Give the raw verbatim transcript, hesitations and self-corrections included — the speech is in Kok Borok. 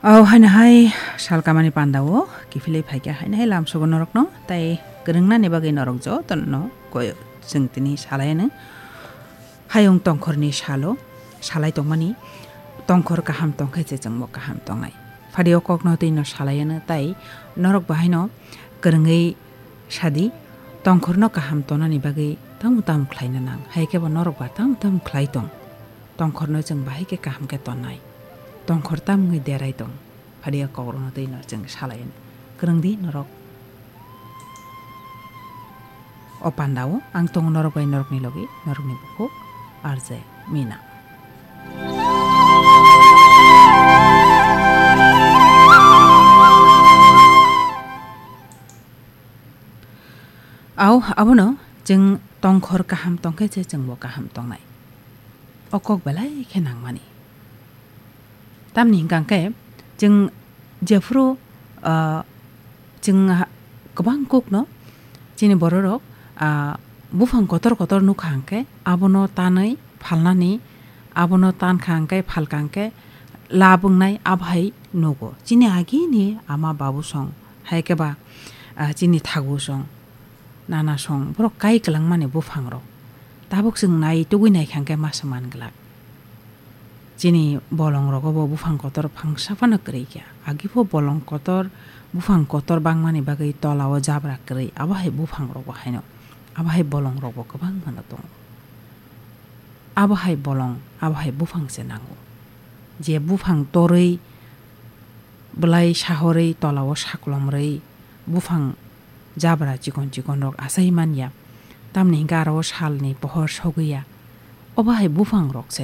Au haino hai sal kamani panda o kiphilwi phaikha haino hai lamsogo norokno, tai kwrwngnani bagwi norok jotono koi chwng tini salai ano. Hayung tongkhorni salo salai tongmani, tongkhor kaham tongkhe se chwngbo kaham tongnai. Phadi o kokno twino salai ano, tai norok bo haino kwrwngwi sadi, tongkhorno kaham tonani bagwi tamo tamo khlaina nang, hai khe bo norok ba tamo tamo khlai tong. Tongkhorno chwng bahai khe kaham khe tonnai. Tongkhor tam wngwi derai tong. Phadi o kokrokno twi no chwng salai no. Kwrwng di norok. O panda o ang tongo norok bai norokni logi, norokni bukhuk R J Mina. Au, abono chwng tongkhor kaham tongkhe se chwngbo kaham tongnai. O kok belai khe nangmani. Tamni hwnkha khe chwng jephuru, ah, chwng ha-, kwbang kokno chini bororok, ah, buphang kotor kotor nukha hwnkhe abono tanwi phalnani, abono tankha hwnkhe phalkha hwnkhe lab wngnai abohai nugo. Chini agini ama babu song, hai khe ba, ah, chini thagu song, nana song, borok kai kwlangmani buphangrok. Tabuk chwng nai tugui naikha hwnkhe masa man glak. Chini bolongrogo bo buphang kotor phangsa phano kwrwi kha. Agi pho bolong kotor, buphang kotor bangmani bagwi tola o jabra kwrwi. Abo hai buphangrok bo haino. Abo hai bolongrok bo kwbang mano tongo. Abo hai bolong, abo hai buphang se nango. Je buphang torwi, bwlai sahorwi, tola o saklomrwi, buphang jabra chikon chikon rok asai man ya. Tamni hwnkhe aro salni pohor sogwi ya. Obo hai buphang rok se.